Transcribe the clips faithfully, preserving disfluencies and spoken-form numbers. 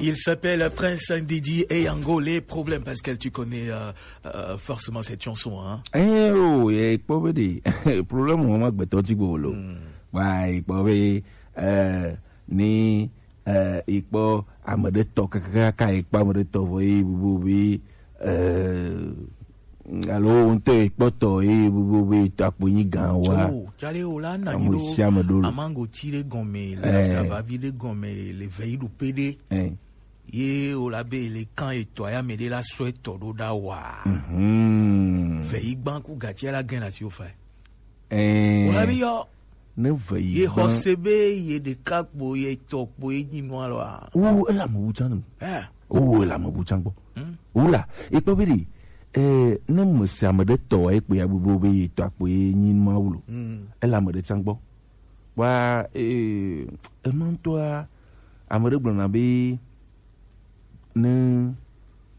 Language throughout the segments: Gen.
Il s'appelle Prince Ndidi et Yango, les problèmes, Pascal, tu connais euh, euh, forcément cette chanson, hein? Eh, oh, ye kpɔ be ɖe. Problème wo ma gbɛtɔ ti gbo lo. Wa ye kpɔ be, eh, ni, eh, ye kpɔ ame ɖe tɔ kakaka, ye kpɔ ame ɖe tɔ vɔ ye bubu be, eh, alo wo ŋutɔ ye kpɔtɔ ye bubu be tɔ akpo nyi gan wa. Oh, jale o la na nyi ame ɖo sia ame ɖo lo. Amango ti ɖe gɔme, le Eh. Asavavi ɖe gɔme, le vɛ yi ɖo pe ɖe. Eh. Ye o la be le kan etɔ ya me ɖe la sɔ etɔ ɖo ɖa wa. Mhm. Vɛ yi gban ku gatsi la gɛn asi o fa. Eh. O la bi yɔ. Ne vɛ yi Ye gban. Xɔse be ye ɖeka kpo ye tɔ kpo ye nyi nua lɔ a. Wo ele ame wu tsan. Eh. Wo ele ame wu tsan gbɔ. Hmm. Wo la, e kpɔ be ɖe, eh, ne me se ame ɖe tɔ wa ye kpo ya bubu be ye tɔ kpo ye nyi nua wu lo. Hmm. Ele ame ɖe tsan gbɔ. Wa, eh, ema ŋutɔa, ame ɖe gblɔna be ne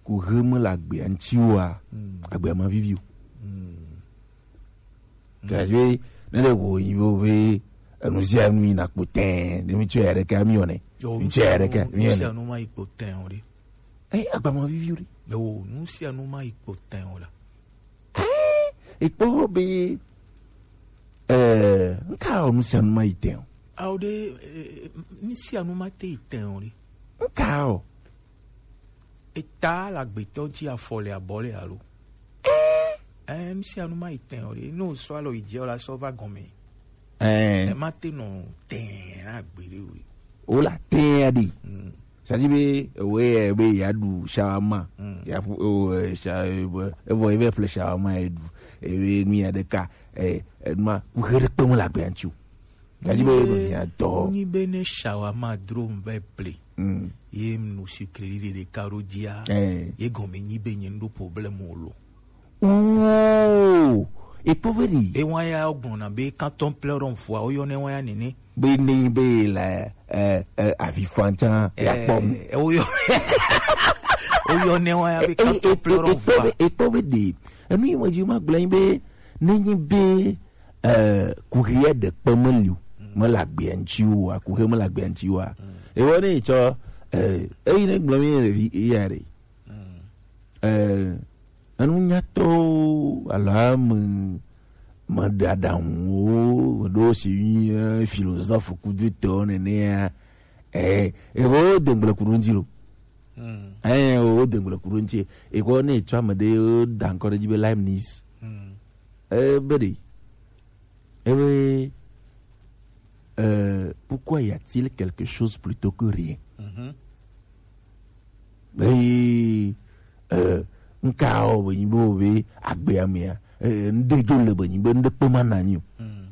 kuxe mele agbea ŋuti oa, Mm. agbea ma vivi o. Mm. Gake ne ɖe ko yi bo be enu sia nu yina kpo tɛɛ, ne mi tsɔ ya ɖeka mi wɔnɛ. Yo, Mi tsɔ ya ɖeka mi wɔnɛ. Sia nu ma yi kpo tɛɛ o ɖe. Eh, agba ma vivi o ɖe. Yo, nu sia nu ma yi kpo tɛɛ o la. Eh, ekpɔ be, eh, nka o nu sia nu ma yi tɛɛ o. Ao ɖe, eh, nu sia nu ma te yi tɛɛ o ɖe. Nka o. Eta la gbetɔ ŋuti afɔ le abɔ le alo. Eh, nu sia nu ma yi tɛɛ o ɖe. Ne o sɔ alɔ yi dzi o la sɔ va gɔme. Eh. E ma te nɔ tɛɛ na gbe ɖe o ɖe. O la tɛɛ ɖe. Mm. C'est-à-dire be, ewe, eh, be ya ɖu shawarma. Mm. Ya ƒu, o, eh, sha-, eh, be, evɔ ye vɛ ƒle shawarma ye ɖu. Ewe nu ya ɖeka, eh, eh, nua, kuxe ɖe kpe mele agbea ŋuti o. Gadi be, Nyi be, nɔ nya dɔ. Nyi be ne shawarma dro m vɛ ple. Mm. Ye m nu sucré ɖe ɖeka ɖo dzia. Eh. Ye gɔme nyi be nye n ɖo problème o lo. Oh, ekpɔ be ɖi. Ewa ya gblɔna be quand on pleure on voit, woyɔnɛ wa ya nene. Be ne be la, eh, eh, avi fan tsan, ya kpɔ mu. Eh, woyɔ-, woyɔnɛ wa ya be quand on pleure on voit. Ekpɔ be ɖi. Enu yi me dzi ma gblɔ nyi be, ne nyi be, eh, kuxia ɖe kpe meli o, mele agbea ŋuti o, kuxia mele agbea ŋuti o. Ewɔ ne yi tsɔ, eh, eyi ne gblɔ mi le vi, iya ɖe. Eh, enu nyatɔwo alo ame, meɖe aɖaŋuwo, meɖewo si nyi, eh, philosophe kudo tɔwo nenea, eh, eh, wo de ŋgble ku ɖo ŋuti lo. Mm. Eh, wo de ŋgble ku ɖo ŋuti. Eko ne etsɔ ame ɖe, wo da ŋkɔ ɖe dzi be Leibniz. Mm. Eh, be ɖe. Eh, be, eh, pourquoi y a-t-il quelque chose plutôt que rien? Mhm. Be, eh, nka o be nyi be o be agbea mea, eh, ŋɖe dzo le be nyi be ŋɖe kpe ma na nyi o. Mm.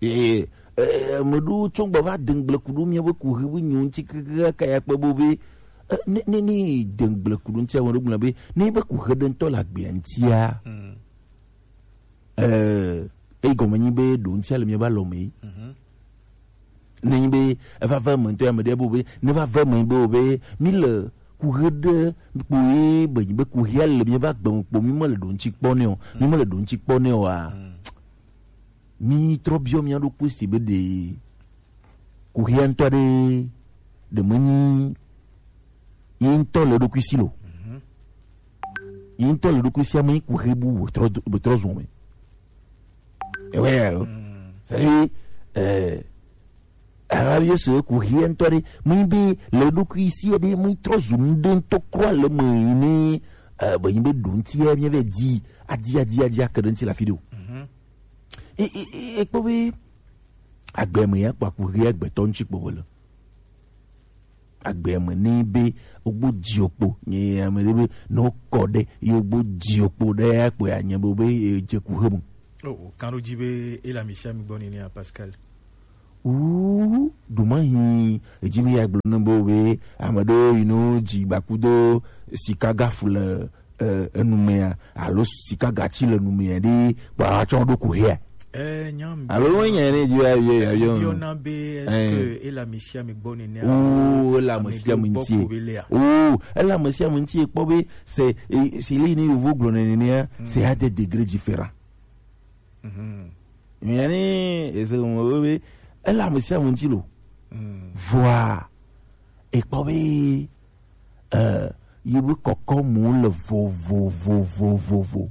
Eh, eh, ame ɖewo tsɔ gbe va de ŋgble ku ɖo mía be kuxe be nyo ŋuti keke ka ya kpe bo be, eh, ne, ne, ne de ŋgble ku ɖo ŋuti, ame ɖewo gblɔ be, ne be kuxe ɖe ŋutɔ le agbea ŋutia, Mm. eh, eyi gɔme nyi be ɖo ŋutia le mía be alɔ me. Mhm. Ne nyi be eva ve eme ŋutɔ ya me ɖe bo be, ne va ve eme bo be, mi le kuxe ɖe kpo ye be nyi be kuxea le mía be agbe me kpo, mi me le ɖo ŋuti kpɔ nɛ o, mi me le ɖo ŋuti kpɔ nɛ o a. Mm. Mi trɔ biɔ mía ɖokui si be ɖe kuxia ŋutɔ ɖe, ɖe menyi yi ŋutɔ le eɖokui si lo. Mhm. Yi ŋutɔ le eɖokui sia me yi kuxi bu wòtrɔ do-, wòtrɔ zun me. Ewɛ ya lo. Mm. C'est-à-dire, eh, Arabi se kuxia ŋutɔ ɖe, menyi be le eɖokui si ɖe, menyi trɔ zu nu ɖe ŋutɔ kura le me yi ne, eh, be yi be ɖo ŋuti ya mía vɛ di, adi, adi, adi, ake ɖe ŋuti le afi ɖe o. Mhm. E, e, e, ekpɔ be agbe me ya kpɔ aku he agbetɔ ŋuti kpɔ wòle. Agbe me ne be wogbo di okpo, nye ame ɖe be ne wokɔ ɖe, ye wogbo di okpo ɖe ya kpɔ ya nye be, be ye dze ku he me. Oh, kan ɖo dzi be ele ami sia ami gbɔ nene ya, Pascal. Wu, ɖuma hi, edzi be ya gblɔ ne be wo be ame ɖewo yi no dzi gbakudo sika gafu le eh, enumea, alo sika gati le numea ɖe, kpɔ atsɔ ɖo ku hea. Eh, nyam. Alo wo nya ne dzi ya ye ya yo. Yɔna be, est-ce que ele ami sia ami gbɔ nene? Oh, ele ami sia ami ŋuti. Oh, ele ami sia ami ŋuti kpɔ be se, eh, se le ne yovo gblɔ nene ya, c'est à des degrés différents. Mhm. Mia ne ese mo be ele ami sia ami ŋuti lo. Mm. Vɔa, Ekpɔ be, eh, yi be kɔkɔ mu le vovovovovovo.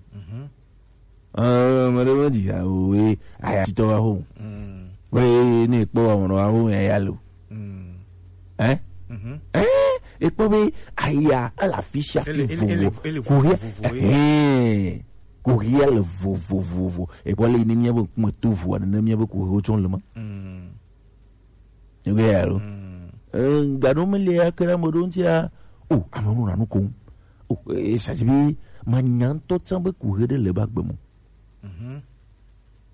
Eh, mele me di ya o we, aya titɔ wa ho. We ne ekpɔ wa mo wa ho ya ya lo. Eh? Eh, ekpɔ be aya ala fisia fi vovo. Kuhia. Eh, kuhia le vovovovo. Ekpɔ le ne mia be kuma tu vo ne mia be kuhia o tsɔn le ma. Ewɛ alo. Gado me le akra mo don tia. O, ame nu na nu ko. O, e sa ti bi ma nya ŋutɔ tsã be kuhe ɖe le ba gbe mo.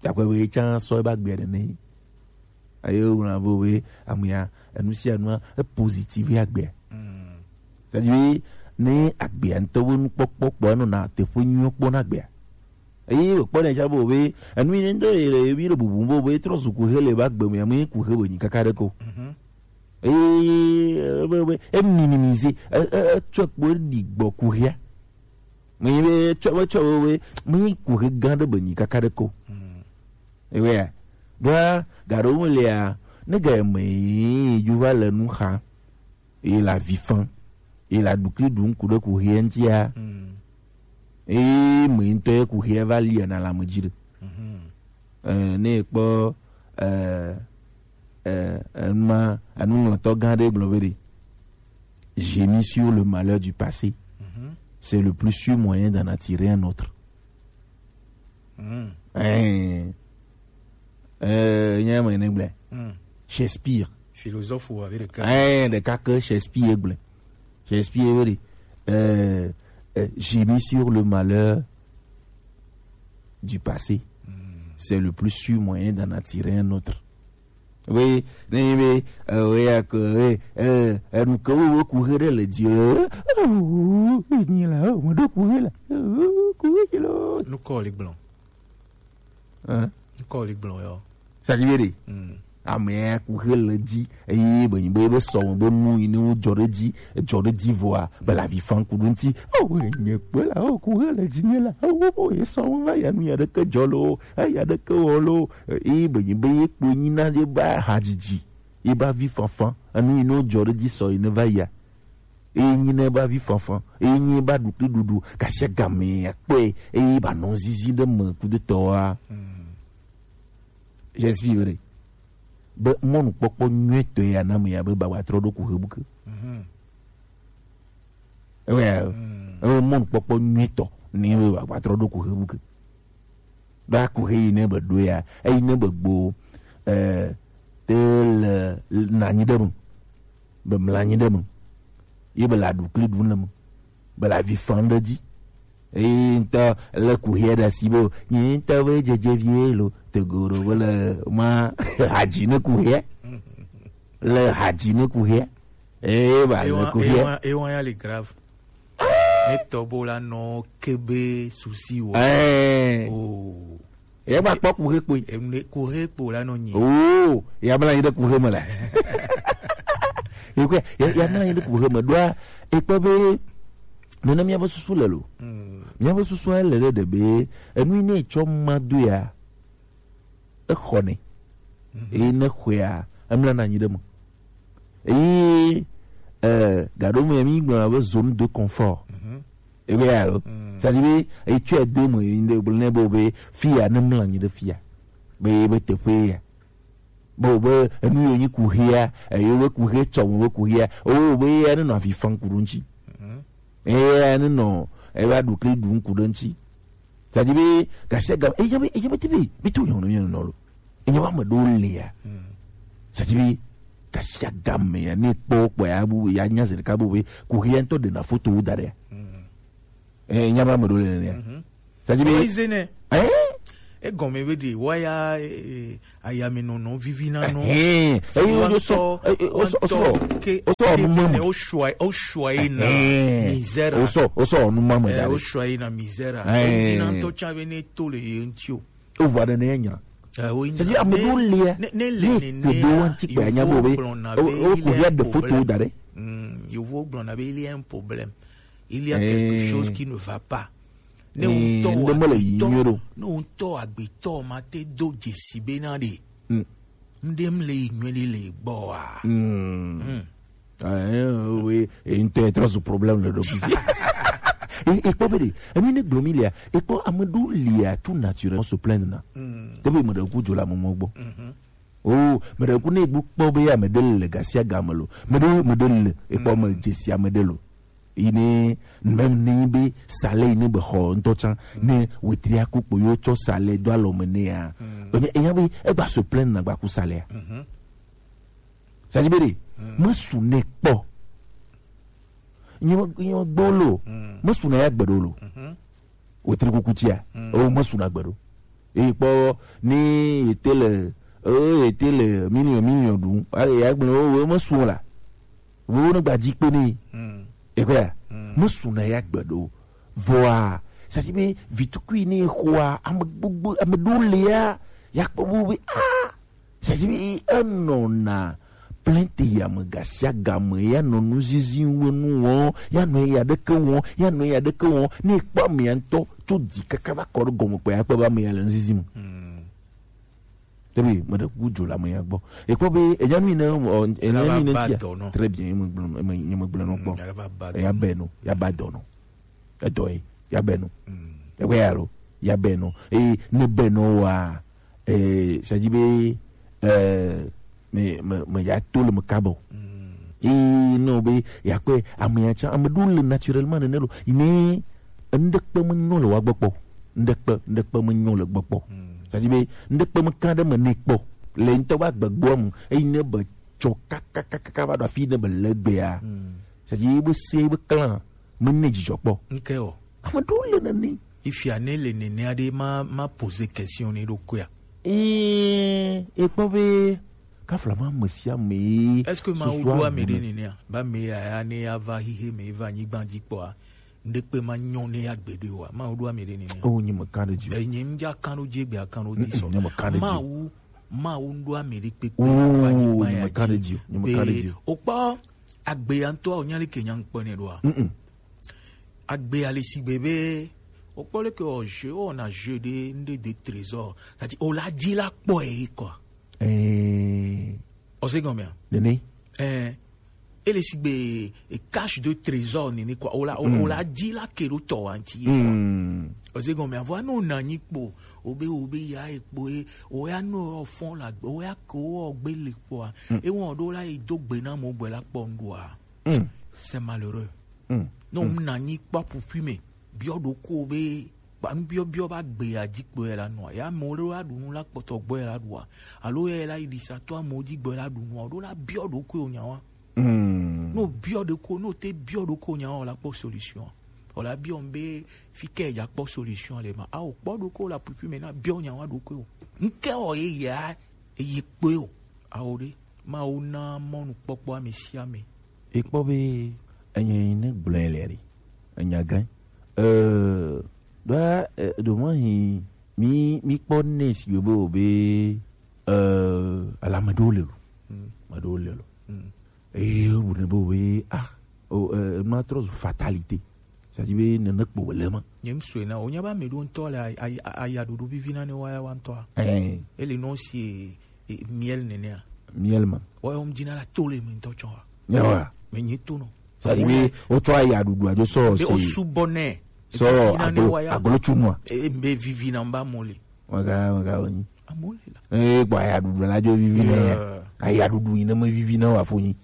Yakpɔ be tsã sɔ e ba gbe ɖe ne. Aye wo na bo be amea enu sia nua e positive agbea. Sa ti bi ne agbea ŋutɔ be nukpɔkpɔ kpɔ enɔ na teƒe nyuiɔ kpɔ na agbea. Eye wòkpɔ ɖe tsã be enu yi ne ŋutɔ yi le ebi le bubu be be trɔ zu kuhe le ba gbe me ame kuhe be nyi kaka ɖe ko. Eye be be e minimise e e etsɔ kpo ɖi gbɔ kuhea. Me yi be tsɔ be tsɔ be be me kuhe gã ɖe be nyi kaka ɖe ko. Ewea ɖoa gaɖo me lia ne ga me yi ju va le nu xa. Et la vie fan. Et la dukli du ŋku ɖe kuhea ŋutia. Eye me ŋutɔ ye kuhea va li na la me dzi ɖe. Eh, ne kpɔ eh, eh, ema enuŋlɔtɔ gã ɖe gblɔ be ɖe, gémir sur le malheur du passé, c'est le plus sûr moyen d'en attirer un autre. Eh, eh, nya me ne gblẽ. Shakespeare. Philosophe ou avec le cœur. Eh, ɖeka ke Shakespeare gblẽ. Shakespeare be ɖe, eh, eh, gémir sur le malheur du passé, c'est le plus sûr moyen d'en attirer un autre. Oui, ne be, eh, we ya ko, eh, eh, eh, nu ke wo ku he ɖe le di, eh, eh, ni la, oh, mo do ku he la, eh, ku he lo. Nu ko le gblɔ. Hein? Nu ko le gblɔ yo. Ça dit, amea ku he le dzi eye be nyi be be sɔ be nu yi ne wo dzɔ ɖe dzi, dzɔ ɖe dzi vɔa be la vi fan ku ɖo ŋti. O nye kpe la o ku he le dzi nye la o ye sɔ va ya nu ya ɖeke dzɔ lo, ya ɖeke wɔ lo. Eye be nyi be ye kpo nyi na ye ba hadzidzi, ye ba vi fanfan, enu yi ne wo dzɔ ɖe dzi sɔ yi ne va ya. Eye nyi ne ba vi fanfan, eye nyi ba ɖukli ɖuɖu, gasia game akpɔe eye ba nɔ zizi ɖe me kudetɔa. J'explique be mɔnukpɔkpɔ nyuitɔ ya na me ya be ba wa trɔ ɖo ku he buke. Ewe ewe mɔnukpɔkpɔ nyuitɔ ni be ba wa trɔ ɖo ku he buke. Ɖo aku he yi ne be ɖo ya, eyi ne be gbo eh te le nanyi ɖe me. Be mlanyi ɖe me. Ye be la ɖukli ɖu le me. Be la vi fan ɖe dzi. Eye ŋutɔ le ku hia ɖe asi be o, nye ŋutɔ be dzedze vie lo, te go ɖo be le ma hadzi ne ku hia. Le hadzi ne ku hia. Eye ba le ku hia. Ewa ya le grave. Etɔ bo la nɔ kebe susi wo. Eh. Oh. Ye ba kpɔ ku he kpoe. Em ne ku he kpo la nɔ nyi. Oh, ya bla yi de ku he me la. Ye kwe, ya ya bla yi de ku he me doa. E kpɔ be nene mía be susu le lo. Mía be susu le ɖe ɖe be enu yi ne tsɔ ma do ya. Exɔnɛ. Eye ne xɔea, emlana anyi ɖe me. Eye eh, gaɖo me mi gblɔna be zone de confort. Ebe ya lo. C'est-à-dire be etsɔe do me yi ne gblɔ ne be be fi ya ne mla anyi ɖe fi ya. Be be teƒe ya. Be be enu yo nyi kuhia, eyo be kuhe tsɔ mo be kuhia. O be ya ne nɔ avi fan ku ɖo ŋtsi. Eya ne nɔ eva ɖukli ɖu ŋku ɖe ŋtsi. C'est-à-dire be gasia ga eya be eya be ti be be to yɔn yɔn nɔ lo. Enye wa me ɖo lia. C'est-à-dire be gasia ga me ya ne kpɔ kpɔ ya bu ya nya zere ka bu be ku hia ŋtɔ ɖe na foto wo da ɖe. Eh, nya ma me ɖo le lia. C'est-à-dire be eh, egɔme be ɖe waya eh, ayamenɔnɔ vivi na nɔ. Eyi wo sɔ o sɔ o sɔ o sɔ nu mɔ. O sɔ yi na misère. O sɔ o sɔ nu mɔ me da. O sɔ yi na misère. Ŋtina ŋutɔ tsa be ne to le ye ŋuti o. O vɔ ɖe ne nya. C'est-à-dire ame ɖo lia ne le ne ne do wa ŋti kpe anya bo be o ko ya de foto da ɖe. Yovo gblɔna be il y a un problème, il y a quelque chose qui ne va pas. Ne ŋutɔ agbetɔ ne ŋutɔ agbetɔ ma te do dzesi be na ɖe ŋɖe mle yi nyuie ɖe le gbɔa. Mm. Ah, eh, oui, et une telle trop ce problème le docusi. Et et pas béré, ami ne glomilia, et pas amadou lia tout naturellement se plaindre na. Te be me de ku jola mo mo gbo. Oh, me de ku ne gbo po be ya me de le gasia gamelo. Me de me de le, et pas me jesi ame de lo. Ine même ni be sale ine be ho nto chan ne wetria ku po yo cho sale do alo me ne ya. Enya be e ba se plaindre na gba ku sale ya. Sadi bere, mesu ne kpɔ. Nyɔ nyɔ gbolo. Mesu na ya gbeɖo lo. Wetri kukutia. O mesu na gbeɖo. Eyi kpɔ ni ete le, o ete le million million ɖu. A ya gblẽ o mesu la. Wo ne gba dzi kpe ne. Ekɔya. Mesu na ya gbeɖo. Vɔa, sadi be vitukui ne xoa ame gbogbo ame ɖo lea ya kpɔ bo be ah. C'est-à-dire, enɔna plainte ya me gasia game ya nɔ nu zizi wo nu wɔn ya nɔ ya ɖeke wɔn ya nɔ ya ɖeke wɔn ne kpɔ amea ŋutɔ tso dzi kaka va kɔ ɖe gɔme kpɔ ya kpɔ be amea le nu zizi me. Ebi me ɖe kuku dzo le amea gbɔ. Ekpɔ be enya nu yi ne ɔ enya nu yi ne tia. Très bien, ye me gblɔ nɔ kpɔ. Ya bɛ no ya ba dɔ nɔ. Edɔ ye ya bɛ no. Ewe ya lo ya bɛ no. Eye ne bɛ no wa eh, c'est-à-dire be eh, me me me ya to le me kabɔ. Eye ne be ya kpe ame ya tsa ame ɖo le naturellement nene lo. Ine ŋɖekpe me nyɔ le wa gbɔ kpɔ. Ŋɖekpe ŋɖekpe me nyɔ le gbɔ kpɔ. C'est-à-dire be ŋɖekpe me kan ɖe me ne kpɔ le ŋutɔ va gbegboa mu. Eye ne be tsɔ kakakaka va ɖo afi ne be le gbea. C'est-à-dire be se be clan me ne dzidzɔ kpɔ. Nke o. Ame ɖewo le nene. Ifia ne le nene aɖe ma ma poser question ne ɖokuia. Ee, ekpɔ be kafla ma ame sia ame. Est-ce que ma wo ɖo ame ɖe nene? Ba me ya ya ne ya va hihe me va nyigba dzi kpɔa. Ŋɖekpe ma nyɔ ne ya gbeɖe wa. Ma wo ɖo ame ɖe nene? Oh, nye me kan ɖe dzi. E nye ŋdza kan ɖo dzi gbe akan ɖo dzi sɔ. Nye me kan ɖe dzi. Ma wo ma wo ɖo ame ɖe kpekpe. Oh, va nyigba ya dzi. Nye me kan ɖe dzi. Nye me kan ɖe dzi. Okpɔ agbe ya ŋutɔ o nya le ke nya ŋkpɔ ne ɖoa. Agbe ale si gbe be o kpɔ leke o jeu o na jeu de nde de trésor. C'est-à-dire o la di la kpɔ e kɔ. Eh. O se gɔmea? Nene. Eh. Ele si gbe e cache de trésor nene kɔ. O la o la di la ke do tɔ wa nti. O se gɔmea vɔ no na nyi kpo. O be o be ya e kpo e o ya no o fɔn la o ya ko o gbe le kpɔ a. E wɔn do la e do gbe na mo gbe la kpɔ ŋdua. C'est malheureux. Ne wo na nyi kpɔ ƒuƒui me biɔ ɖokuiwò be kpa nu biɔbiɔ va gbe ya dzi kpɔe la nua ya amewo ɖo la ɖu nu la kpɔtɔ gbɔe la ɖua alo ya la yi ɖi satɔ amewo dzi gbɔe la ɖu nua ɖo la biɔ ɖokuiwò nyawa. Ne wo biɔ ɖokuiwò ne wo te biɔ ɖokuiwò nyawa o la kpɔ solution o la biɔ be fi ke ya kpɔ solution le ma awo kpɔ ɖokuiwò la ƒuƒui me na biɔ nyawa ɖokuiwò ŋke wɔ ye ya eye kpɔe o awo ɖe Mawu na mɔnukpɔkpɔ ame sia ame. Ekpɔ be enye yi ne gblɔe le ɖi. Enya gã. Euh, ɖoa eh, ɖo mɔ hi mi mi kpɔ ne si be o be euh, ala me ɖewo le lo. Me ɖewo le lo. Eye bu ne be o be ah o euh, ma trɔ zu fatalité. C'est-à-dire be nene kpo wòle ma. Nye ŋsɔe na wònya be ame ɖewo ŋutɔ le ayi ayi ayi aɖuɖu vivi na ne woaya wa ŋutɔa. Ɛɛ. Ele nɔ si e, e, miel nenea. Miel ma. Woyɔ ŋdzi na la to le me ŋutɔ tsɔ wa. Nyawa. Me nyi to nɔ. C'est-à-dire be wotsɔ ayi aɖuɖu adzo sɔ be se. Wosu bɔ nɛ. Sɔ agolo agolo tsunua. E be vivi na mba mɔ le. Waga waga wonyi. Amɔ le la. E gbɔ ayi aɖuɖu la dzo vivi na ya. Ayi aɖuɖu yi ne me vivi na wa fo nyi.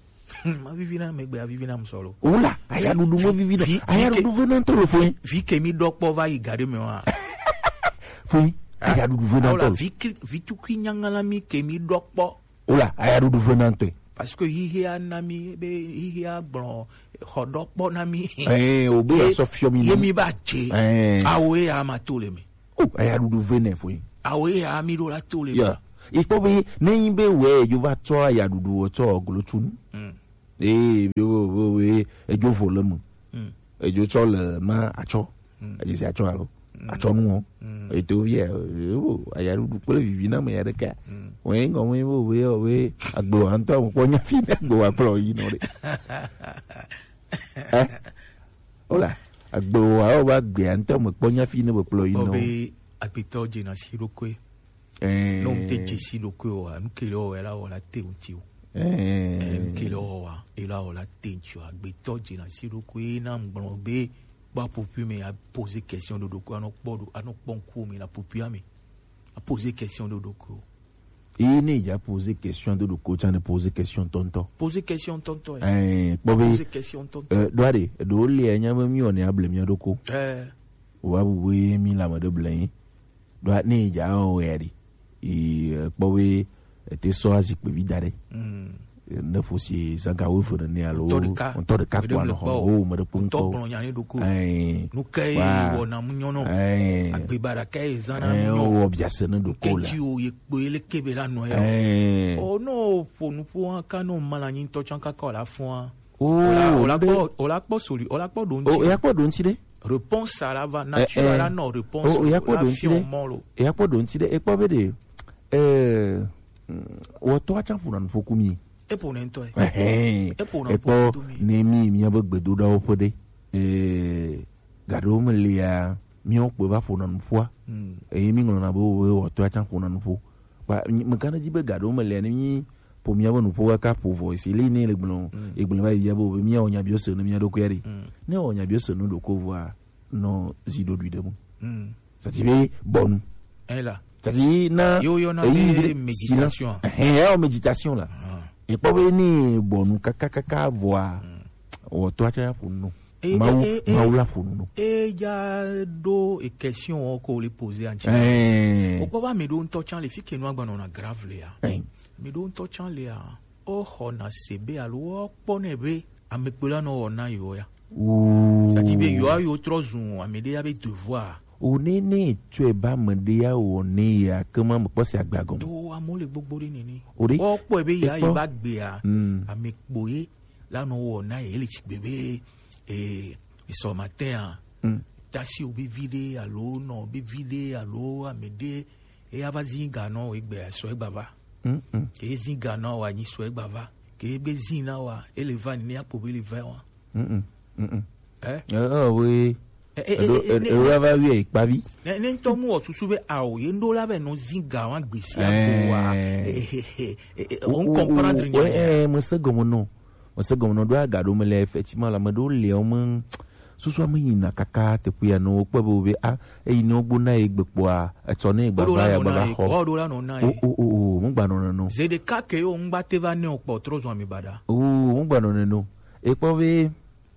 Ma vivi na megbe avivi na musɔlo. Wula, ayaɖuɖu mo vivi na. Ayaɖuɖu ve na ntolo foyi. Vi ke mi ɖɔ kpɔ va yi gaɖe me wa. Foyi, ayaɖuɖu ve na ntolo. Vi ke vi tukui nyangala mi ke mi ɖɔ kpɔ. Wula, ayaɖuɖu ve na ntɔe. Parce que hihi a na mi be hihi a gblɔ xɔ ɖɔ kpɔ na mi. Eh, o be asɔ fiɔ mi. Ye mi ba dze. Eh. Awo ye ama to le me. O ayaɖuɖu ve nɛ foyi. Awo ye ami ɖo la to le. Ya. Ikpɔ be ne yin be wɛ edzo va tsɔ ayaɖuɖu wɔ tsɔ glo tsu nu. Ee yo wo we edzo vo le mu. Edzo tsɔ le ma atsɔ. Edzo si atsɔ alo. Atsɔ nu wɔ. Eto via o ayaɖuɖu kple vivi na me ya ɖeka. Wɛ ŋgɔ wɛ wo we o we agbo antɔ mo kpɔ nya fi ne agbo wa kplɔ yi nɔ ɖe. Ola, agbewo awo ba gbea ŋutɔ me kpɔ nya fi ne be kplɔ yi nɔ. Be agbetɔ dzena si ɖokui. Eh. Ne wo te dze si ɖokui o, anu ke le wɔwɛ la wɔ la te ŋuti o. Eh, kele wa, ela wala tencho, agbeto je na si do ko, e na ngblɔ be, ba popi me a poser question do do ko, ano kpɔ do, ano kpɔ nku me na popi ame. A poser question do do ko. Eye ne dza poser question do do ko, tsa ne poser question tɔntɔ. Poser question tɔntɔ, eh. Eh, kpɔ be, poser question tɔntɔ. Eh, do ade, do le nya me mi o ne able mi do ko. Eh. Wa bu we mi la me de ble. Do ne dza o we ade. E, eh, kpɔ be, e te sɔ azikpe vi da ɖe. Mm. Ne ƒo si zã ga wuieve nene alo ŋutɔ ɖeka, ŋutɔ ɖeka kpɔa nɔ xɔ o, me ɖe kpɔ ŋutɔ gblɔ nya ne ɖo ko. Ɛɛ. Nu kae wɔna mu nyɔ nɔ? Ɛɛ. Agbeba ɖeka ye zã na mu nyɔ. Ɛɛ, wɔ biase ne ɖo ko la. Kɛntsi o ye kpo ye le kebe la nɔ ya. Ɛɛ. O no ƒo nu ƒo hã ka no ma la nyi ŋutɔ tsã kaka o la fɔa. O la kpɔ, o la kpɔ soli, o la kpɔ ɖo ŋuti. O ya kpɔ ɖo ŋuti ɖe. Réponse à la va naturelle, la non réponse. O ya kpɔ ɖo ŋuti ɖe. Ya kpɔ ɖo ŋuti ɖe. Ekpɔ be ɖe. Ɛɛ, wɔtɔ atsa ƒo na nu ƒo ku mi. Eƒo nɛ ŋutɔ ye. Ɛhɛn. Eƒo nɛ. Ekpɔ ƒo ku mi. Ne mi mía be gbedoɖawo ƒe ɖe. Ɛɛ, gaɖewo me lia, míawo kpɔe va ƒo na nu ƒoa. Mm. Eye mi ŋlɔna be wo wɔtɔ atsa ƒo na nu ƒo. Kpa, mi, me gane dzi be gaɖewo me lia, ne mi ƒo mía be nu ƒo kaka ƒo vɔ, esi li ne le gblɔ, mm, egblɔ va yi ya be wo be mía wɔ nya biɔ se ne mía ɖokui ɖe. Mm. Ne wɔ nya biɔ se nu ɖoko vɔa, nɔ zi ɖoɖui ɖe mu. Mm. C'est-à-dire be bɔnu. Ela. C'est-à-dire na yo yo na eyi be be méditation. Silence. Ɛhɛn, ya méditation la. Ah. Ekpɔ be ni bɔnu kaka kaka vɔa. Mm. Wɔtɔ atsa ya ƒo nu. E, Mawu, e, e, e, Mawu la ƒo nu. E ja ɖo e question wo ko le poser anti. Ɛhɛn. O kpɔ ba mi ɖo ŋutɔ tsã le fi ke nu agbanɔ na grave le ya. Ɛhɛn. Mi ɖo ŋutɔ tsã le ya. O xɔ na se be alo o kpɔ ne be ame kpe la nɔ wɔ na yo ya. Ooh. Sati be yo ayo trɔ zun ame ɖe ya be devoir. O ne ne tsɔe ba ame ɖe ya wɔ ne ya ke ma me kpɔ se agbe agɔme. O amewo le gbogbo ɖe nene. O ɖe. O kpɔe be ya yi ba gbea. Mm. Ame kpo ye la nɔ wɔ na ye le tsi gbe be, eh, esɔ matin a. Mm. Tasi o be vi ɖe alo nɔ be vi ɖe alo ame ɖe eya va zi ga nɔ egbe sɔ egba va. Mm, mm. Ke zi ga nɔ wa nyi sɔ egba va. Ke be zi na wa ele va ni akpo be le va wa. Mm, mm, mm, mm. Eh? Eh, eh, oui. Eh, eh, eɖo, eh, eh, ne, eɖo ne, ava wi ekpavi. Ne, ne ŋutɔ mu wɔ susu be ao ye ŋɖo la be nɔ zi ga wa gbesi akpo wa. Eh. Eh, eh, eh, eh, eh, o, on o, o, comprendre o, nya eh, ya. Eh, me se gɔme nɔ. Mese gɔme nɔ ɖo aga ɖo me le effectivement la me ɖo le o me susu ame yina kaka teƒe ya nɔ kpɔ be wo be a eyi ne wo gbo na ye gbe kpɔa etsɔ ne gbava ya gbava xɔ. O, o, o, o, mo gba nɔ ne no. Zede ka ke yo ngba te va ne o kpɔ trɔ zɔn mi bada. O, mo gba nɔ ne no. E kpɔ be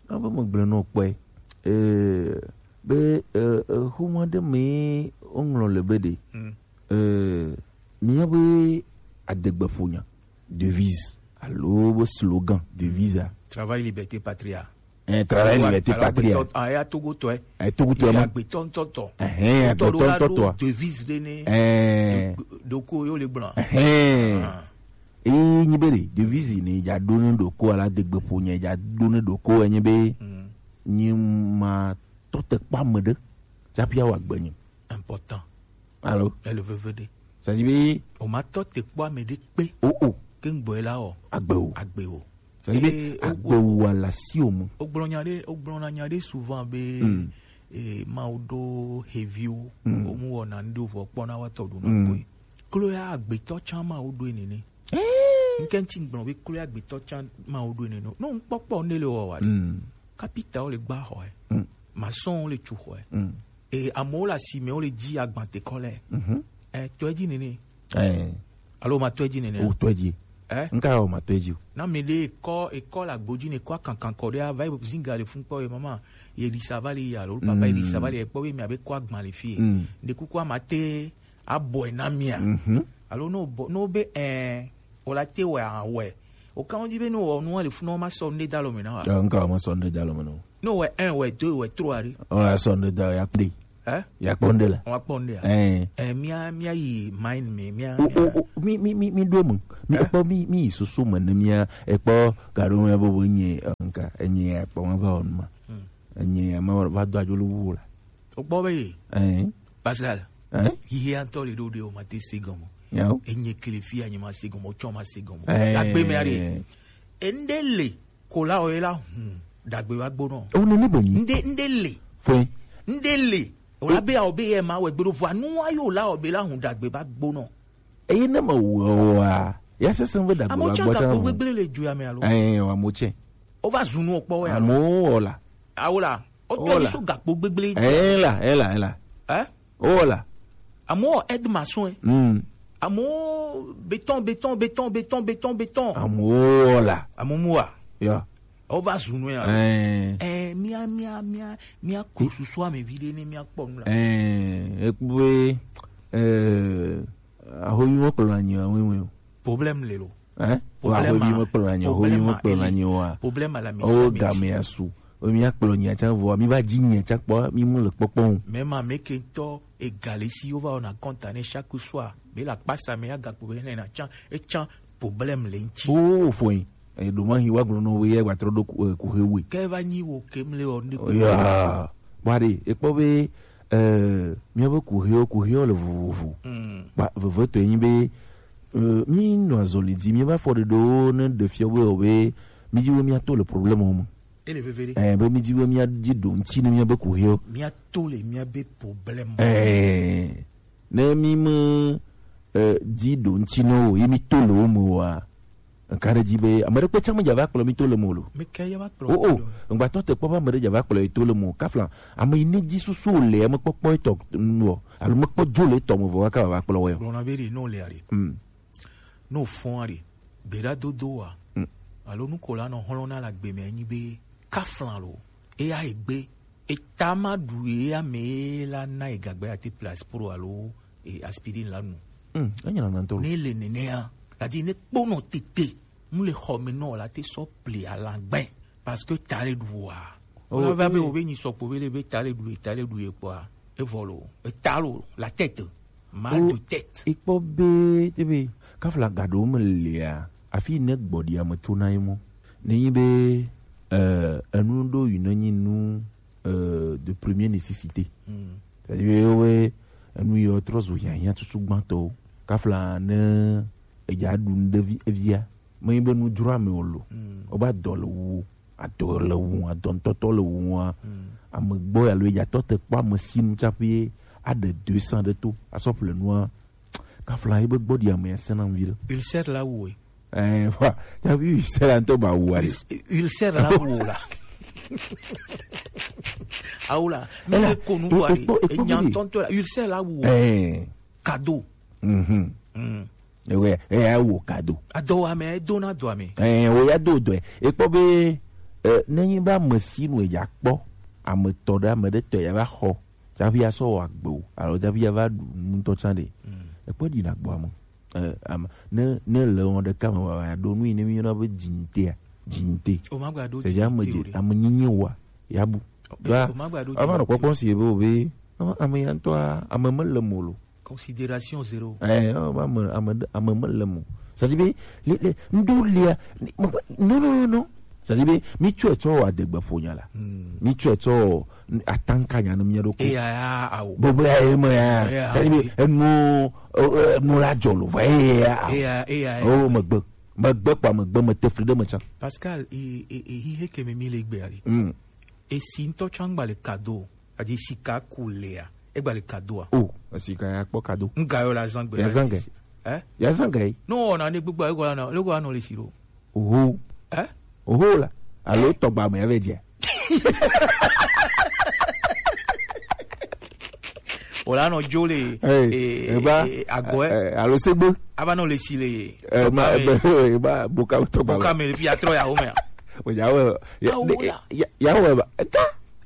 a be mo gblɔ no kpɔ e. Eh, be, eh, eh, xoma ɖe me o ŋlɔ le be de. Mm. Eh, mi ya be adegbe ƒo nya. Devise alo be slogan, devise a. Travail, liberté, patria. Eh, travail, liberté, patria. Ah, ya Togo tɔ, eh. Eh, Togo tɔ, ya ma. Agbetɔ ŋutɔ tɔ. Eh, eh, agbetɔ ŋutɔ tɔ. Devise ɖe ne. Eh. Ɖoko yo le gblɔ. Eh. Ah. Eye nyi be ɖe, devise ne dza ɖo ne ɖoko ala degbe ƒo nye dza ɖo ne ɖoko enye be. Mm. Nyi ma tɔ te kpɔ ame ɖe. Tsaƒi awɔ agbe nyi. Important. Alo? Ele veve ɖe. C'est-à-dire be o ma tɔ te kpɔ ame ɖe kpe. O, o. Ke ŋgbɔe la o. Agbe o. Agbe o. C'est-à-dire be eh, o, agbe o wa la si o mu. O gblɔ nya ɖe, o gblɔ na nya ɖe souvent be, mm, eh, ma o ɖo heviwo. Mm. O mu wɔna ŋɖe vɔ kpɔ na wa tɔ ɖo na koe. Klo ya agbetɔ tsã ma o ɖo nene. Eh. Ŋkɛ ŋti gblɔ be klo ya agbetɔ tsã ma o ɖo nene. No ŋkpɔkpɔ ne le wɔ wa ɖe. Mm. Kapita wo le gba xɔ ɛ. Mm. Masɔn wo le tu xɔ ɛ. Mm. E amewo le asime wo le dzi agbantekɔ lɛ. Mhm. Ɛ, tɔe dzi nene. Ɛ. Alo ma tɔe dzi nene. O tɔe dzi. Ɛ? Nka o ma tɔe dzi o. Na mi ɖe ekɔ, ekɔ le agbo dzi ne kɔ akankan kɔ ɖe ava yi zinga le fun kpɔ ye mama. Ye ɖi sava le ya lo papa ye ɖi sava le kpɔ ye mi abe kɔ agban le fi ye. Mm. Ɖe kuku ama te abɔe na mia. Mhm. Alo no bɔ, no be ɛ, o la te wɛ awɛ. O kan di be no wɔ nu le fun no ma sɔ nde dalo me na wa. Ɛ, nka o ma sɔ nde dalo me no. No wɛ un, wɛ deux, wɛ trois ɖe. O ya sɔ nde da ya kpe. Ɛ? Ya kpɔ nde la. Wa kpɔ nde a. Ɛ. Ɛ, mia, mia yi mind me, mia, o, mia. O, o, mi, mi, mi, mi do mu. Mi kpɔ mi, mi yi susu me ne mia, ekpɔ gaɖo me bo bo nye, ɛ, nka, enye ya kpɔ ma va o nu ma. Hmm. Enye ya ma va do adzo le wu la. O kpɔ be yi. Ɛ. Pascal. Ɛ? Yi ya ŋutɔ le ɖo ɖe o ma te se gɔme. Yawo. Enye kele fi ya nye ma se gɔme, o tsɔ ma se gɔme. Ɛ. Agbe me are. Ende le. Ko la o ye la hun dagbe va gbonɔ. O nene be nyi. Nde, nde le. Fue. Nde le. O la be a o be ye ma wɛ gbeɖo vɔ nu wa yo la o be la hun dagbe va gbonɔ. Eye ne me wɔ wa, Ya sese be da Amewo gbola tsã gbola gakpo tsã. Gbegble le dua me alo? Eh, wa mo tsɛ. Wova zu nu kpɔ wɛ alo? Amewo wɔ la. Awo la. Wotɔ Wɔ mi la. So gakpo gbegble dzi. Eh, la, eh, la, eh, la. Eh? Wɔ la. Amewo wɔ aide maçon, eh. Mm. Amewo béton, béton, béton, béton, béton, béton. Amewo wɔ la. Amewo mu wa. Ya. Wova zu nu ya. Eh. Eh, mia, mia, mia, mia ko susu ame vi ɖe ne mia kpɔ nu la. Eh, ekpɔ be, eh, ahoyi mo kplɔ na nyi wa wewe o. Problème le lo. Hein? Wa Problème ho mi a- mo kplɔ na nyi, ho mi problème mo a- kplɔ na nyi wa. Problème à la O maison, game asu. O mi akplɔ nyi atsa vɔ, mi va dzi nyi atsa kpɔ, mi mo le kpɔkpɔ o. Mais ma me ke ŋutɔ egale si wova wɔna kɔnta ne chaque soir. Be la kpasa me ya gakpo be ne na tsa, e tsa problème le ŋti. O foi. E do ma hi wa gblɔ no we ye wa trɔ do ku, eh, ku he we. Ke va nyi wo ke mle o ne. O ya. Bwa ɖe, ekpɔ be, eh, míabe kuxiwo, kuxiwo le vovovo. Mm. Ba, vevetɔe nyi be, eh, mí nɔ azɔli dzi, míabe afɔɖeɖewo ne ɖe fia be, o be, mí dzi be míato le problème me. Ele veve ɖe. Eh, be mí dzi be míadzi ɖo ŋti ne míabe kuxiwo. Míato le míabe problème. Eh, ne mí me, eh, dzi ɖo ŋti ne o, ye mí to le wo me oa, nka ɖe dzi be, ame ɖe kpe tsã me dza va kplɔ mí to le me o lo. Mi ke ya va kplɔ O, o, kplɔ. Ŋgbatɔ te kpɔ be ame ɖe dza va kplɔ yi to le mo. Kafla, ame yi ne dzi susu o le, ame kpɔkpɔ etɔ nu o. Alo me kpɔ dzo le etɔ me vɔ, kaka va kplɔ wɛ o. Gblɔna be ɖi, no le ari. Mm. No fɔn ari. Gbeɖa dodo wa. Mm. Alo nu ko la nɔ hlɔ̃ na la gbe me nyi be, kafla lo. Eya egbe. Eta ma ɖu ye ame la na egagbe ate place pro alo, e, aspirine la nu. Mm, enya na ntɔ. Ne le nenea, la di ne kpɔnɔ tete. Mu le xɔ me nɔ la te sɔ pli alagbe. Parce que ta le ɖu wa. Oh, Wala va be eh. Wo be nyi sɔkpo be le be ta le ɖu ye, ta le ɖu ye kpɔa. Evɔ lo, eta lo, la tête. Mal Oh, de tête. Ikpɔ be, te be, kafla gaɖo me lea, afi ne gbɔɖi ame tso na ye mɔ. Ne nyi be, eh, enu ɖo yi ne nyi nu, eh, de première nécessité. Mm. C'est-à-dire, yo, we, enu yɔ trɔ zu hiahiã tutu gbãtɔ. Kafla ne, edza ɖu nu ɖe vi, evia. Me nyi be nu dzro ame o lo. Mm. O ba dɔ le wu. Adɔ le wu, adɔ ŋutɔtɔ le wu wa. Mm. Ame gbɔ alo ya tɔ te kpɔ ame si nu tsaƒe aɖe deux cents ɖe to, asɔ ƒle nua. Kafla yi be gbɔ ɖi ame ya sena ŋvi ɖe. Ulcère la wu e. Eh, fa, ya bi ulcère la ŋutɔ ba wu ale. Ul-, ulcère la wu la. Awu la, mi Ela, le ko nu e-, wa e-, re, ekpɔ, ekpɔ enya mi de. Ŋutɔntɔ la, ulcère la wu. Eh. Cadeau. Mhm. Mm. Ewe, eya wo kado. Adɔwame, edona dɔame. Eh, wo ya do dɔe. Ekpɔ be, eh, ne nyi be ame si nu ya kpɔ, ame tɔ ɖe, ame ɖe tɔ ya va xɔ, tsaƒe ya sɔ wɔ agbe o, alo tsaƒe ya va ɖu nu ŋutɔ tsã ɖe. Mm. Ekpɔ ɖi na gbɔ ame. Eh, ame, ne, ne le wɔn ɖeka me wa, wa ɖo nu yi ne mi yɔna be dignité a, dignité. O ma gba ɖo C'est-à-dire ame dignité o dzi, ɖe. Ame nyinyi wa, ya bu. O, Ba, o ma gba ɖo ava nɔ dignité o. Kpɔkpɔ si ebe o be, ame, ame ya ŋutɔa, ame mele mo lo. Considération zéro. Eh, oh, ame, ame, ame mele mo. C'est-à-dire be, le, le, ŋɖo lia, ni-, me-, non, non, non, non. C'est-à-dire be, mi tsɔe tsɔ adegbe ƒo nya la. Hmm. Mi tsɔe tsɔ atanka nya ne mia ɖo ko. Eya ya, awo. Gbogbo ya, eme ya. Eya, C'est-à-dire be, awo. Enu, eh, eh, enu la dzɔ lo, vɔ, eya ya, awo. Eya, eya, Oh, eya. Megbe. Megbe kpa megbe, me te fli ɖe me tsã. Pascal, e, e, e, hihe ke me mi le gbe ari. Hmm. Esi ŋutɔ tsã ŋgba le kado o. Adi sika ku lea, egba le kado a? O, sika ya kpɔ kado. Ŋga yɔ la zan gbe. Ya zan ge. Eh? Ya zan ge. No, na ne gbogbo ego na, ego anɔ le si ɖo. Oho. Eh? Oho la. Alo tɔgba me ave dze. O la nɔ dzo le, Hey, eh, eba, eh, agɔɛ. Eh, alo segbe. Aba nɔ le si le, Eh, ma, tɔgba me. Ebe, eba, boka tɔgba Boka me. Me le fi atrɔ ya wo me a. O ya wɛ, ya, Awo ya. Ya, ya wɛ ba. Eta.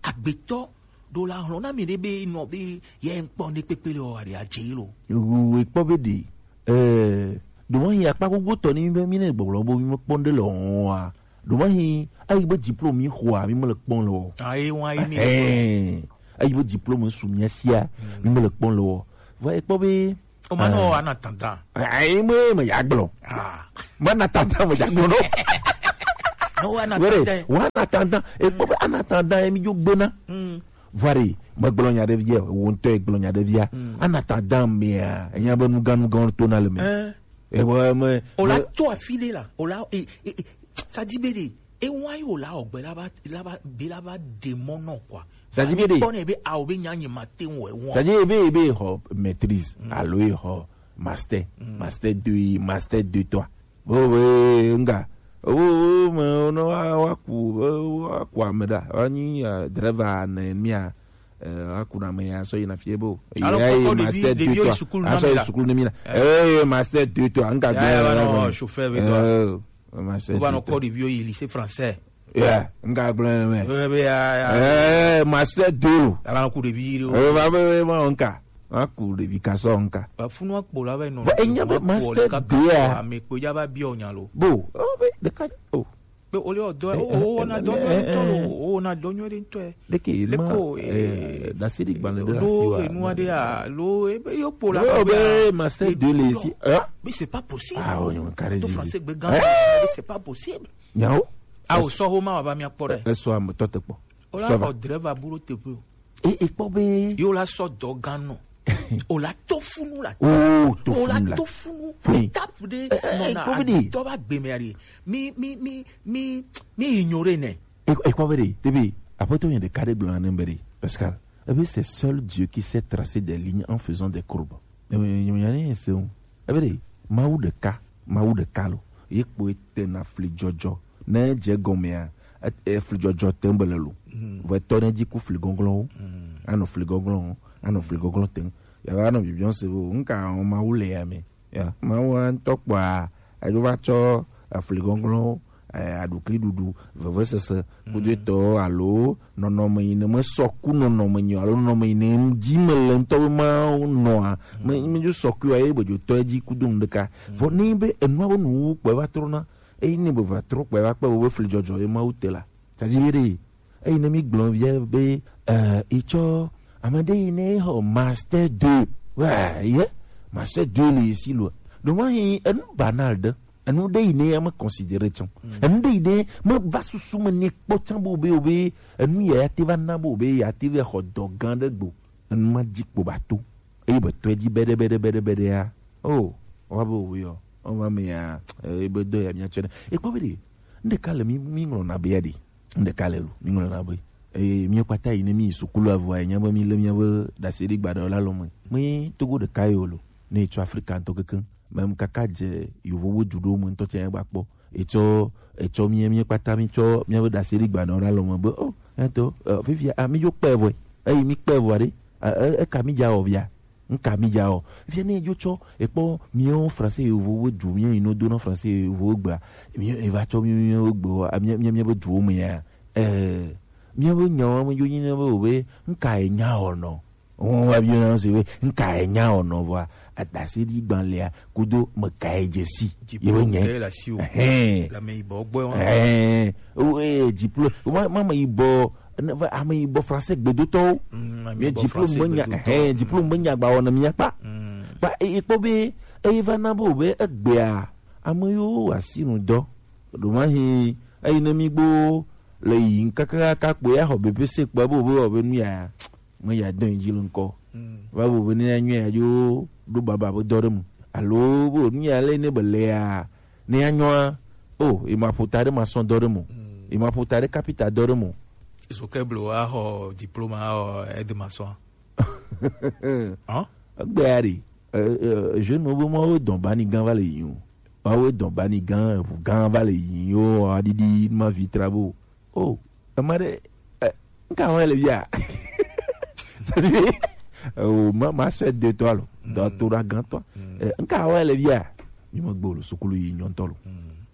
Agbetɔ ɖo la hlɔ̃ na mi ɖe be nɔ be ye ŋkpɔ ne kpekpe le o aɖe adze lo. Wu ekpɔ be ɖe, eh, ɖo ma yi akpa gbogbo tɔ ni be mi ne gbɔgblɔ bo mi me kpɔ ɖe le hɔn wa. Ɖo ma yi ayi be diplôme mi xɔ a mi me le kpɔ le o. Ayi wa yi mi le kpɔ. Eh, ayi be diplôme su mi sia mi me le kpɔ le o. Va ekpɔ be O ma nɔ Ah. Ana tanda. Ayi me me ya gblɔ. Ah. Me na tanda me ya gblɔ no. No, wa na Were, tanda. Wa na tanda. Ekpɔ be ana tanda ye mi dzo gbena. Mm. Vari, megblɔ nya ɖe via, wo ŋutɔ egblɔ nya ɖe via. Mm. Ana tanda mea, enya be nugan nugan to na le me. Eh. E bo me, O la me to afi ɖe la, o la, e, e, e, sa di be ɖe, e wa yi o la o gbe la ba, la ba, be la ba de mɔ nɔ quoi. Sa di be ɖe. Kpɔ ne be a o be nya nye ma te ŋu e wɔn. Sa di be, be xɔ maîtrise, Mm. Alo e xɔ master, Mm. Master deux, master deux, trois. Bo be nga. O me no wa wa ku wa ku ameda. Wa ni driver ne mia. Wa ku na me ya so ina fie bo. Alo, koko ɖevi ɖevi yo sukulu na mi la. Aso sukulu ne mi la. Eh, master deux toi, nga gbe. Ya ya no chauffeur be toi. Master. Ba no ko ɖevi yo lycée français. Yeah, nga gblẽ me. Eh, be ya ya. Eh, master deux. Ala ku ɖevi ɖo. Eh, va be ma onka. Ma ku ɖevi ka so onka. Ba funu akpo la be no. Ba enya be master deux a. Ame kpo ja ba bi onya lo. Bo, o be de ka o. Be o le o do o o na do nyo to lo. O na do nyo de to. De ke ma. Ko eh, da sidi gban de la siwa. Lo enu ade a lo e be yo po la. O be master deux le si. Hein? Mais c'est pas possible. Ah, on carré. Tout français be gan. C'est pas possible. Nyawo. A o sɔ ho ma wa ba mi akpɔ ɖe. Esɔ ame tɔ te kpɔ. O la xɔ dreva bu ɖo teƒe o. E e kpɔ be. Yo la sɔ dɔ gan nɔ. O la to funu la. O to funu la. O la to funu. Étape de. Non na a dɔ ba gbe me ari. Mi mi mi mi mi ignorer ne. E e kpɔ be de. Tebi. Aƒetɔ yɛn ɖeka ɖe gblɔ na ne be de. Pascal. Ebe c'est seul Dieu qui sait tracer des lignes en faisant des courbes. Ebe de. Mawu ɖeka, Mawu ɖeka lo. Ye kpoe tena fli dzɔdzɔ. Ne edze egɔmea, efli dzɔdzɔ te be le lo. Vɔ etɔ ne dzi ku fli gɔglɔwo. Anɔ fli gɔglɔ, anɔ fli gɔglɔ te. Ya va nɔ bibiɔ se wo, nka wɔn Mawu le ya me. Ya, Mawu ŋutɔ kpɔa, eɖo va tsɔ efli gɔglɔ, eh, aɖukli ɖuɖu, vevesese, kudo etɔ alo nɔnɔme yi ne mesɔ ku nɔnɔme nyi o, alo nɔnɔme yi ne dzi mele ŋutɔ be manɔa, me me dzo sɔ kui wa ye be dzo tɔ edzi kudo nu ɖeka. Vɔ ne be enua be nuwuwu kpɔe va trɔna, eye ne be va trɔ kpɔe va kpe be fli dzɔdzɔ ye Mawu te la. Tadi be ɖe, eyi ne mi gblɔ via be, eh, itsɔ ame ɖe yi ne xɔ master deux. Wa, ye, master deux le si lo. Donc, moi, enu banal ɖe. Enu ɖe yi ne ya me considérer tsã. Enu ɖe yi ne me va susu me ne kpɔ tsã bo be, o be, enu ya ya te va na bo be, ya te va xɔ dɔ gã ɖe gbo. Enu ma dzi kpo ba to. Eye be tɔe dzi beɖe, beɖe, beɖe, beɖe ya. Oh, wa be o yɔ. O ma me ya, eh, be dɔ ya mi atsɔ ne. E kpɔ be ɖe. Nde ka le mi, mi ŋlɔ na be ya ɖe. Nde ka le lo, mi ŋlɔ na be. Eye mi kpata yi ne mi sukulu avɔ ya nya be mi le mi be dasi ɖe gbaɖe la lo me. Me Togo ɖeka yo lo. Ne tso Afrika ŋutɔ kekeŋ. Mem kaka dze yovowo dzuɖo me ŋutɔ tsɛ gba kpɔ. Etsɔ, etsɔ mie, mie kpata mi tsɔ mia be dasi ɖi gbanɔ ɖe alɔ me be, oh, eto, eh, fifia, ah, mi dzo kpɛ vɔe. Eyi mi kpɛ vɔa ɖe, ah, eh, eka mi dza wɔ via. Nka mi dza wɔ. Fifia ne dzo tsɔ, ekpɔ mio français yovowo dzu, mio yi no do na français yovowo gbea. Mio eva tsɔ mio, mio gbe, ah, mia, mia, mia be dzuwo me ya. Eh, mia be nyawo me dzo nyi ne be o be, nka e nya wɔ nɔ. Wọn wa bi na se we nka e nya ono vɔa adase di gban lea kudo me ka e dze si. Ye be nye. Diplôme ke la si o. Ɛhɛn. La me yibɔ gbɔ wa. Ɛhɛn. O e diplôme. Ma ma me yibɔ, ne va ame yibɔ français gbedotɔwo. Mm, ame yibɔ français gbedotɔ. Ye diplôme be nya, ɛhɛn, diplôme be nya gba wɔ na mi akpa. Mm. Ba e kpɔ be e va na bo be egbea ame yo asinu dɔ. Do ma hi e ne mi gbo le yi nkaka ka kpo ya xɔ B P C kpɔ bo be wɔ be nu ya. Me ya dɔn dzi le ŋkɔ. Va bo be ne ya nyɔ ya dzo ɖo baba be dɔ ɖe mu. Alo bo nu ya le ne be le ya. Ne ya nyɔa. O, e ma ƒo ta ɖe maçon dɔ ɖe mu. E ma ƒo ta ɖe kapita dɔ ɖe mu. Zo ke blo a xɔ diplôme a xɔ aide maçon. Hein? Egbe ya ɖe. Eh, eh, jeune wo be mo wo dɔn bani gan va le yi o. Wa wo dɔn bani gan, eʋu gan va le yi o, aɖiɖi ma vi trabo. O, ema ɖe, eh, nka wa le via? O, ma, ma sɔ de to alo. Dɔ to ɖa gan to. Eh, nka wa le via? Mi me gbo lo, sukulu yi nyɔntɔ lo.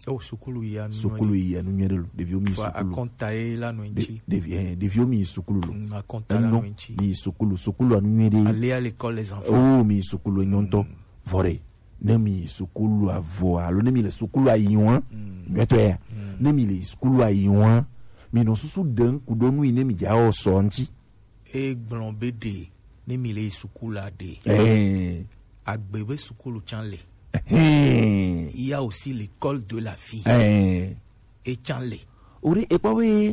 O, sukulu yi anu. Sukulu yi anu nyuie ɖe lo. Ɖeviwo mi sukulu. Akɔnta ye la no ŋti. Ɖevi, eh, ɖeviwo mi sukulu lo. Mm, akɔnta la no ŋti. Mi sukulu, sukulu anu nyuie ɖe. Aller à l'école les enfants. O, mi sukulu nyɔntɔ. Vɔ ɖe. Ne mi yi sukulu avɔ alo ne mi le sukulu ayi wa, nyuietɔ ya. Ne mi le sukulu ayi wa, mi nɔ susu ɖe ŋku ɖo nu yi ne mi dza wɔ sɔ ŋti. E gblɔ be ɖe ne mi le yi sukulu a ɖe. Ɛɛ. Agbe be sukulu tsã le. Ɛhɛn. Il y a aussi l'école de la vie. Ɛɛ. E tsã le. O ɖe e kpɔ be